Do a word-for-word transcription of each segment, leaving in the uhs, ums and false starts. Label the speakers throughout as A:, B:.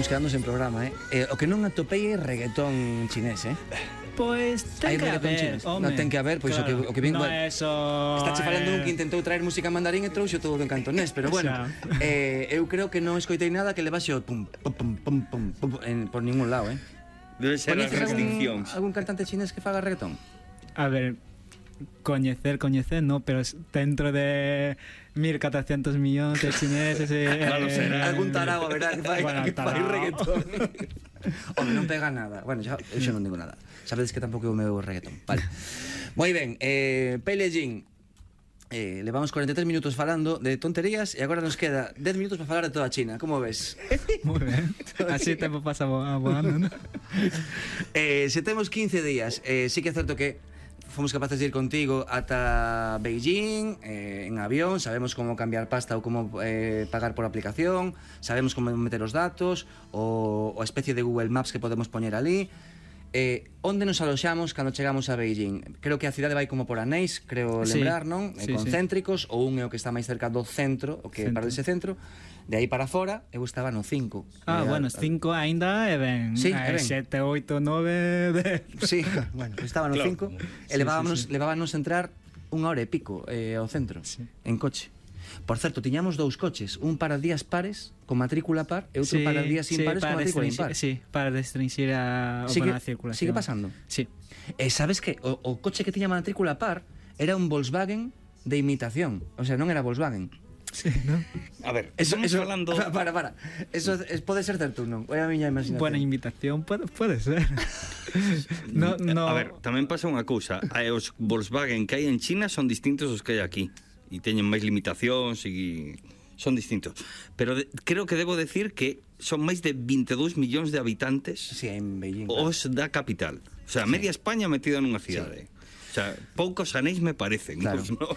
A: estamos quedando sen programa, eh? eh o que non atopei é reggaetón chinés, eh?
B: Pois ten que haber, home.
A: Non ten que haber, pois claro. o que, o que vin...
B: No bueno, eso...
A: Está che falando un que intentou traer música en mandarín e trouxo todo en cantonés, pero bueno, eh, eu creo que non escoitei nada que levase o pum, pum, pum, pum, pum, pum en, por ningún lado, eh?
C: Debe ser as restriccións.
A: Algún, algún cantante chinés que faga reggaetón?
B: A ver, coñecer, coñecer, no, pero dentro de mil cuatrocientos millóns de chineses eh,
C: claro, será.
A: Algún tarao, a verdad, que fai, bueno, que fai reggaetón. Home, non pega nada. Bueno, xa, eu xa non digo nada. Sabedes que tampouco é o meu reggaetón. Vale. Moi ben, eh, Peilejin, eh, levamos cuarenta e tres minutos falando de tonterías e agora nos queda dez minutos para falar de toda China. Como ves?
B: Moi ben. Así o tempo pasa voando, ¿no?
A: eh, se temos quince días, eh, sí que é certo que fomos capaces de ir contigo ata Beijing, eh, en avión, sabemos como cambiar pasta ou como eh, pagar por aplicación, sabemos como meter os datos, o, o especie de Google Maps que podemos poñer ali. Eh, onde nos aloxamos cando chegamos a Beijing? Creo que a cidade vai como por anéis, creo lembrar, sí, non? Sí, concéntricos, sí. O un é o que está máis cerca do centro, o que é para ese centro. De aí para fora, eu estaba no cinco.
B: Ah, bueno, cinco aínda é ben.
A: Sí, é ben.
B: sete, oito, nove, dez.
A: Sí, bueno, estaba no cinco. E levábamos, sí, sí, sí. levábamos entrar unha hora e pico eh, ao centro, sí. En coche. Por certo, tiñamos dous coches, un para días pares, con matrícula par, e outro sí, para días impares, sí, con matrícula impar.
B: Sí, para restringir a,
A: sigue,
B: a circulación.
A: Sigue pasando?
B: Sí.
A: E sabes que o, o coche que tiña matrícula par era un Volkswagen de imitación. O sea, non era Volkswagen.
B: Sí, ¿no?
C: A ver,
A: eso,
C: estamos
A: eso,
C: falando...
A: Para, para. Eso es, pode ser certo, non? É a miña imaginación.
B: Buena invitación, puede, puede ser. no, no...
C: A ver, tamén pasa unha cousa. Os Volkswagen que hai en China son distintos aos que hai aquí. E teñen máis limitacións e... son distintos. Pero de, creo que debo decir que son máis de veintidós millóns de habitantes,
A: sí, en Beijing,
C: os claro. Da capital. O sea, sí. Media España metida nunha cidade. Sí. O sea, poucos anéis me parecen,
A: claro.
C: Pues, ¿no?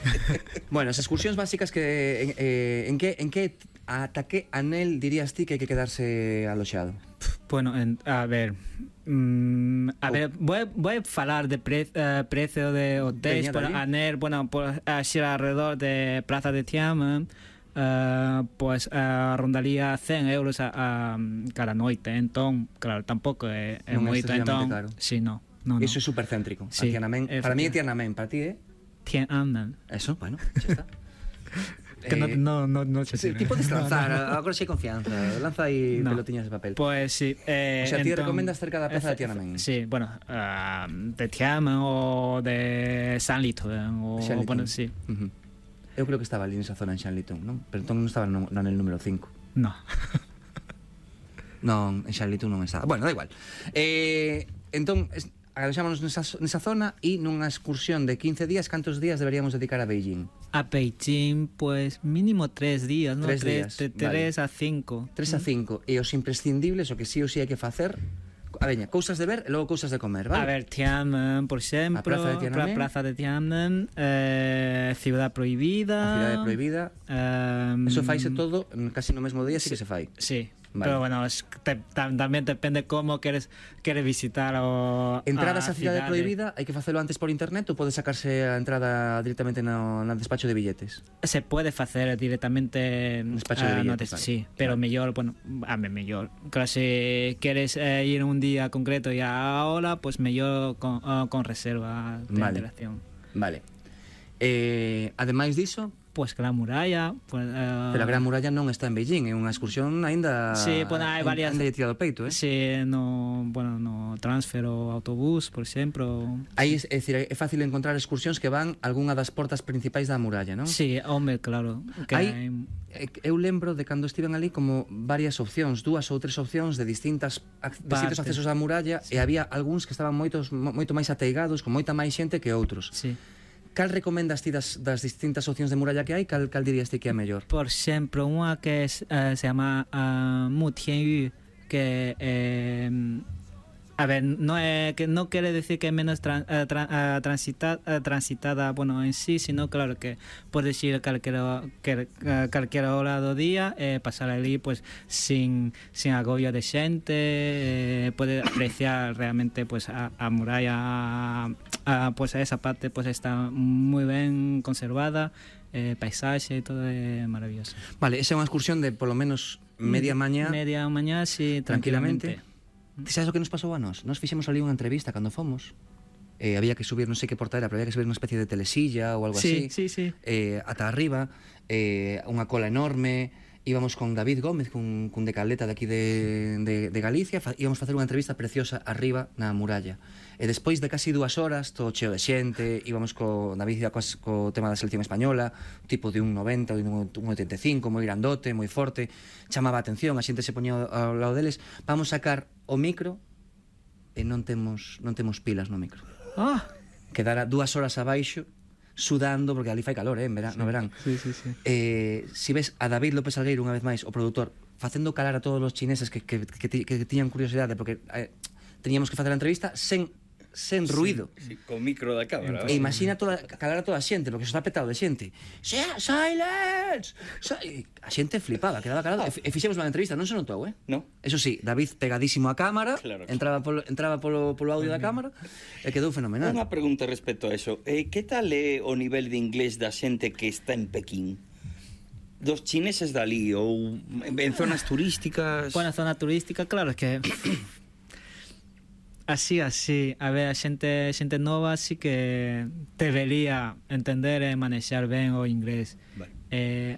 A: Bueno, as excursións básicas que en, eh, en que en que ata que anel dirías ti que hai que quedarse aloxado?
B: Bueno, en, a ver, mm, a oh. ver, voy, voy a falar de pre, uh, precio de hotéis por anel, bueno, por así alrededor de Plaza de Tiananmen. Uh, pues uh, rondaría cen euros a, a cada noite, entón, claro, tampouco é, é
A: non
B: moito, entón,
A: claro.
B: Sí, no. No,
A: Eso
B: no.
A: é super céntrico.
B: Sí,
A: Tiananmen, para mí é Tiananmen, para ti é
B: Tiananmen.
A: Eso, bueno, xa está.
B: Que eh, no, no, no, no
A: sí, ti podes lanzar, no, no. Agora sei confianza. Lanza aí no. Pelotiñas de papel.
B: Pues sí. Eh,
A: o sea, ti
B: entón,
A: recomendas cerca da plaza de Tiananmen.
B: Sí, bueno, uh, de Tiananmen o de Sanlitun o
A: Sanlitun.
B: Bueno, sí.
A: Uh -huh. Eu creo que estaba ali nesa zona en Sanlitun, non? Pero entón non estaba no, no el número cinco.
B: No.
A: Non, en Sanlitun non estaba. Bueno, da igual. Eh, entón, agradecémonos nesa, nesa zona e nunha excursión de quince días, cantos días deberíamos dedicar a Beijing?
B: A Beijing, pues mínimo tres días, ¿no?
A: Tres días,
B: de tres
A: vale.
B: a cinco.
A: Tres a cinco. E os imprescindibles, o que sí ou sí hai que facer... A veña, cousas de ver e logo cousas de comer, vale?
B: A ver, Tiananmen, por exemplo,
A: a Plaza de Tiananmen,
B: a Plaza de Tiananmen, eh, Ciudad Prohibida.
A: A Cidade Prohibida. Um, Eso faise todo casi no mesmo día, sí, sí que se fai.
B: Sí. Vale. Pero bueno, es, te, tam, tamén depende como queres queres visitar o
A: entradas a, a Cidade Prohibida, hai que facelo antes por internet ou pode sacarse a entrada directamente no, no despacho de billetes?
B: Se pode facer directamente
A: no despacho uh, de billetes,
B: no, vale. Sí, pero vale. Mellor, bueno, a me mellor. Claro, se queres eh, ir un día concreto e a hora, pues mellor con, uh, con reserva de
A: vale.
B: Antelación.
A: Vale. Eh, ademais diso,
B: pues que a muralla, pues, uh...
A: pero a Gran Muralla non está en Beijing, é unha excursión aínda.
B: Sí, pues hai varias.
A: Aínda lle tirado peito, eh?
B: Sí, no, bueno, no transfer o autobús, por exemplo.
A: Aí, é dicir, é fácil encontrar excursións que van a algunha das portas principais da muralla, non?
B: Sí, home, claro. Que
A: hai,
B: hai...
A: Eu lembro de cando estiven ali como varias opcións, dúas ou tres opcións de distintas distintos accesos á muralla, sí. E había algúns que estaban moitos moito máis ateigados, con moita máis xente que outros.
B: Sí.
A: Cal recomendas ti das, das distintas opcións de muralla que hai? Cal, cal dirías ti que é mellor?
B: Por exemplo, unha que es, uh, se chama uh, Mu Tianyu, que eh, a ver, no é que no quiere decir que é menos tran, uh, tra, uh, transita, uh, transitada, bueno, en sí, sino claro que podes ir calquera que, uh, calquera hora do día e eh, pasar ali pues sin sin agobio de xente, eh, pode apreciar realmente pues a, a muralla, a, a, pues a esa parte pues está moi ben conservada, eh, paisaxe e todo é maravilloso.
A: Vale, esa é unha excursión de polo menos media mañá,
B: Media mañá, sí,
A: tranquilamente.
B: tranquilamente.
A: Ti sabes o que nos pasou a nós? Nos fixemos ali unha entrevista cando fomos. Eh, había que subir, non sei que porta era, pero había que subir unha especie de telesilla ou algo
B: Sí,
A: así.
B: sí, sí.
A: Eh, ata arriba, eh, unha cola enorme. Íbamos con David Gómez, cun, cun de Caleta de aquí de, de, de Galicia, fa, íbamos facer unha entrevista preciosa arriba na muralla. E despois de casi dúas horas, todo cheo de xente, íbamos co David co, co tema da selección española, tipo de un noventa ou de un oitenta e cinco, moi grandote, moi forte, chamaba a atención, a xente se poñía ao lado deles. Vamos sacar o micro e non temos, non temos pilas no micro.
B: Ah,
A: Quedara dúas horas abaixo, sudando, porque ali fai calor, eh, en verán,
B: sí,
A: no verán.
B: sí, sí, sí.
A: Eh, si ves a David López Algueiro, unha vez máis, o produtor, facendo calar a todos os chineses que, que, que, que, que tiñan curiosidade, porque eh, teníamos que facer a entrevista sen, sen ruido.
C: Sí, con micro da cámara.
A: E imagina toda, calar a toda a xente, porque eso está petado de xente. Sea, silence! Si a xente flipaba, quedaba calado. E, e fixemos unha entrevista, non se notou, eh?
C: No.
A: Eso sí, David pegadísimo á cámara,
C: Claro.
A: entraba polo, entraba polo, polo audio da cámara, e quedou fenomenal.
C: Unha pregunta respecto a eso. Eh, que tal é o nivel de inglés da xente que está en Pekín? Dos chineses dali ou en zonas turísticas?
B: Buena zona turística, claro, es que así, así, a ver, a xente, xente nova sí que debería entender e manexar ben o inglés.
C: Vale.
B: Eh,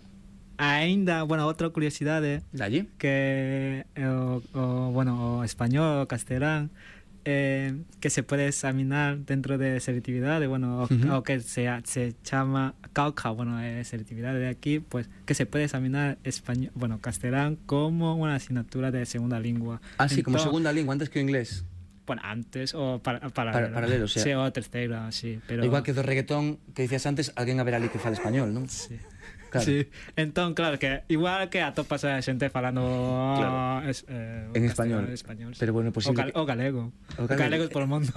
B: aínda, bueno, outra curiosidade
A: Dalle?
B: que o, o, bueno, o español, o castelán, eh, que se pode examinar dentro de selectividade, bueno, o,
A: Uh-huh.
B: o que se, se chama cauca, bueno, é selectividade de aquí, pues que se pode examinar español, bueno, castelán como unha asignatura de segunda lingua.
A: Ah, sí, como
B: Entón,
A: segunda lingua, antes que o inglés.
B: Bueno, antes o para, para,
A: Para- paralelo, o sea.
B: sí, o terceira, sí, pero
A: Igual que do reggaetón que dicías antes, alguén a ver ali que fala español, non?
B: sí.
A: Claro.
B: Sí, entón, claro, que igual que atopas a xente falando
C: Claro.
B: es, eh,
A: En
B: castelán,
A: español.
B: español sí.
A: Pero bueno,
B: o,
A: posible
B: gal,
A: que-
B: o galego.
A: O
B: O
A: galego.
B: galegos por o mundo.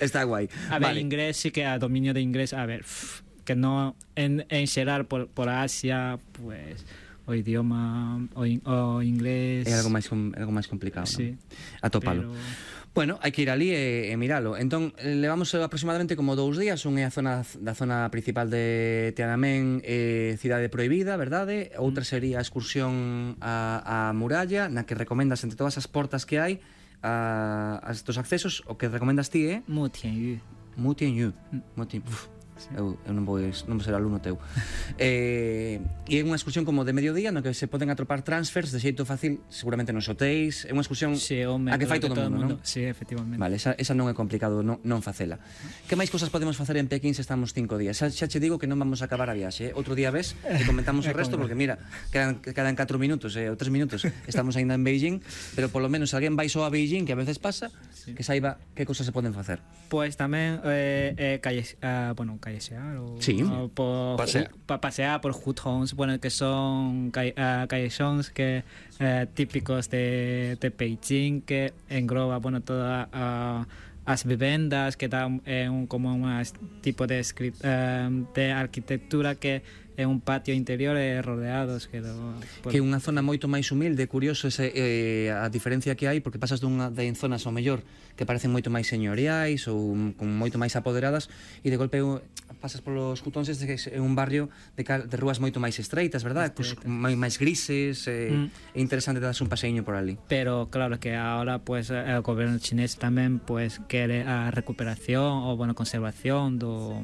A: Está guai.
B: A ver,
A: Vale.
B: inglés sí que a dominio de inglés, a ver, pff, que no en, en xeral por, por Asia, pues o idioma o, in, o inglés
A: É algo máis com, algo máis complicado,
B: sí,
A: non? Atópalo.
B: pero
A: Bueno, hai que ir ali e, e miralo. Entón, eh, levamos aproximadamente como dous días. Un é a zona da zona principal de Tiananmen, eh, cidade prohibida, verdade? Outra sería a excursión a, a muralla, na que recomendas entre todas as portas que hai, a, as dos accesos, o que recomendas ti é
B: Mu Tianyu.
A: Mutianyu. Muti, uf,
B: Sí.
A: eu, eu non vou, non vou ser alumno teu. eh, e é unha excursión como de mediodía no que se poden atopar transfers de xeito fácil, seguramente nos hotéis. É unha excursión
B: Sí, home,
A: a que fai
B: claro,
A: todo o mundo, non?
B: Sí, efectivamente.
A: Vale, esa, esa non é complicado non, non facela. Que máis cosas podemos facer en Pekín se estamos cinco días? Xa, xa che digo que non vamos a acabar a viaxe, eh? Outro día ves e comentamos o
B: É
A: resto,
B: como-
A: porque mira, quedan, quedan catro minutos eh, ou tres minutos, estamos aínda en Beijing, pero polo menos alguén vai só a Beijing, que a veces pasa, que saiba que cosas se poden facer.
B: Pues tamén eh, eh, calle, ah, bueno, callesear o,
A: Sí.
B: o por,
C: Pasear.
B: pa, pasear por hutongs, bueno, que son calle, ah, callejons que eh, típicos de, de Beijing, que engloba, bueno, toda ah, as vivendas, que dan eh, un, como un tipo de, script, eh, de arquitectura que é un patio interior e rodeados que do,
A: Que é unha zona moito máis humilde, curioso ese, eh, a diferencia que hai, porque pasas dunha de en zonas ao mellor que parecen moito máis señoriais ou con moito máis apoderadas, e de golpe uh, pasas polos jutóns de que é un barrio de, cal, de rúas moito máis estreitas, verdad? Pues, máis, máis grises, eh,
B: Mm.
A: é interesante darse un paseiño por ali.
B: Pero claro que ahora pues el gobierno chinés tamén pues quere a recuperación ou bueno conservación do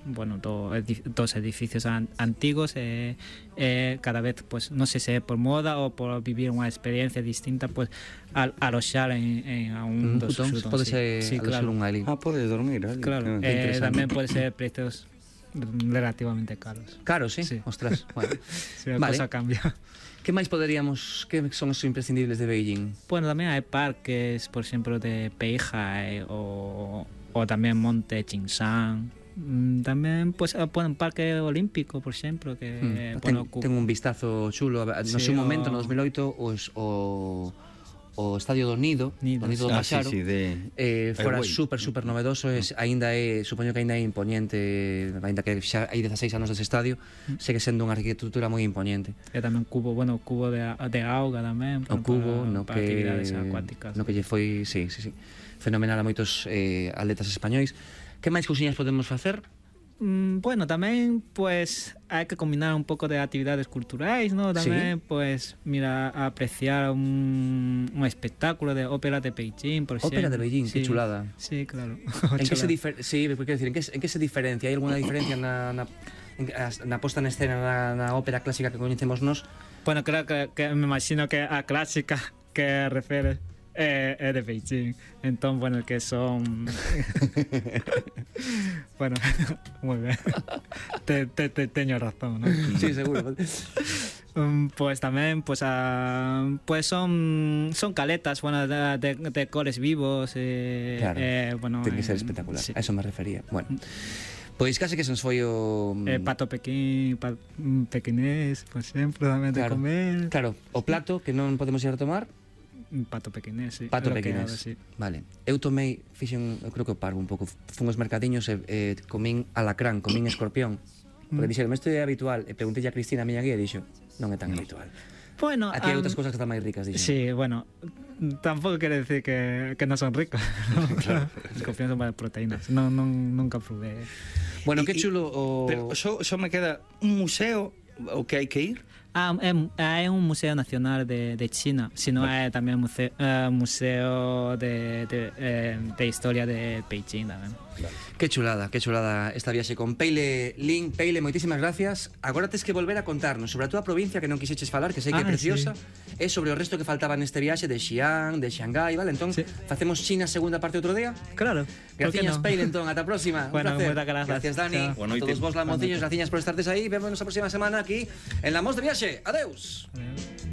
B: bueno do, edi- dos edificios an, antigos e eh, cada vez pues non sei se é por moda ou por vivir unha experiencia distinta pues al aloxar en, en a un
A: Un
B: dos
A: jutón
B: xutóns,
A: pode
B: sí.
A: ser
B: Sí,
A: aloxar
B: claro.
A: un ali.
C: Ah, podes dormir ali.
B: Claro,
C: Que
B: eh,
A: interesante.
B: tamén pode ser precios relativamente caros.
A: Claro, sí?
B: Sí.
A: Ostras, bueno.
B: Si la
A: Vale.
B: cosa cambia.
A: Que máis poderíamos, que son os imprescindibles de Beijing?
B: Bueno, tamén hai parques, por exemplo, de Peihai ou, ou tamén Monte Chingshan. Mm, Tamén, pues, ah, bueno, un parque olímpico, por exemplo, que,
A: Hmm.
B: bueno,
A: ten,
B: cu-
A: ten un vistazo chulo. No
B: Sí,
A: seu momento,
B: o-
A: no dos mil oito, os, o, o Estadio do Nido,
B: Nido,
A: do Nido do
C: Ah, sí,
A: Maxaro,
C: sí, de...
A: eh, fora
C: Ai,
A: super, super novedoso, es, aínda é, supoño que aínda é imponente, aínda que xa hai dezaseis anos dese estadio, segue sendo unha arquitectura moi imponente.
B: e tamén cubo, bueno, cubo de, de auga tamén,
A: O
B: para-
A: cubo,
B: para,
A: no
B: para
A: que
B: actividades acuáticas.
A: no que lle foi, sí, sí, sí, fenomenal a moitos eh, atletas españois. Que máis cousiñas podemos facer?
B: Mm, bueno, tamén pues hai que combinar un pouco de actividades culturais, ¿no? Tamén
A: Sí.
B: pues mira, apreciar un, un espectáculo de ópera de Beijing, por exemplo.
A: Ópera de Beijing, qué chulada.
B: Sí, claro.
A: En que se
B: Chulada.
A: difer sí, quero decir, en que, en que se diferencia? Hai alguna diferencia na, na, en, as- na posta en escena na, na ópera clásica que coñecemos nos?
B: Bueno, creo que, que me imagino que a clásica que refieres é, é de Beijing. Entón, bueno, que son... bueno, moi ben. Te, te, te teño razón, ¿no?
A: Sí, seguro.
B: Um, pues tamén, pues, a, pues son son caletas, bueno, de, de, de coles vivos, eh,
A: Claro,
B: eh, bueno,
A: ten que ser
B: eh,
A: espectacular.
B: sí.
A: A eso me refería. Bueno, pois case que se nos foi o...
B: Eh, pato pequín, pa, mm, pequinés, por exemplo, tamén de
A: Claro.
B: comer.
A: Claro, o plato que non podemos ir a tomar,
B: Un pato pequinés, sí.
A: pato
B: é lo que
A: pequinés.
B: hago, sí.
A: Vale. Eu tomei, fixen, eu creo que o parvo un pouco. Fun aos mercadiños e eh, comín alacrán, comín escorpión. Porque dixeron, isto é habitual. E preguntei a Cristina, a miña guía, e dixo, non é tan habitual.
B: Bueno,
A: Aquí hai
B: am,
A: outras cousas que están máis ricas, dixo.
B: sí, bueno, tampouco quere decir que, que non son ricos. Claro. Escorpións son máis proteínas. Non, non, nunca probé.
A: Bueno,
C: Y-
A: que
C: y-
A: chulo o...
C: Pero só, só me queda un museo o que hai que ir.
B: Ah, é, é un museo nacional de, de China, sino é tamén museo, uh, museo de, de, eh, de historia de Beijing tamén.
A: Que chulada, que chulada esta viaxe con Peile Lin. Peile, moitísimas gracias. Agora tes que volver a contarnos sobre a túa provincia que non quixeches falar, que sei que é
B: Ah,
A: preciosa, e sobre o resto que faltaba neste viaxe de Xi'an, de Shanghái, vale? Entón,
B: Sí.
A: facemos China segunda parte outro día.
B: Claro.
A: Gracias, Peile, entón, ata a próxima. Un
B: Bueno,
A: placer.
B: moitas grazas.
A: Gracias, Dani.
B: Chao.
A: A
C: Boa noite.
A: todos vos, lamociños, gracias por estartes aí. Vémonos a próxima semana aquí en La Mos de Viaxe. Adeus.
B: Adiós.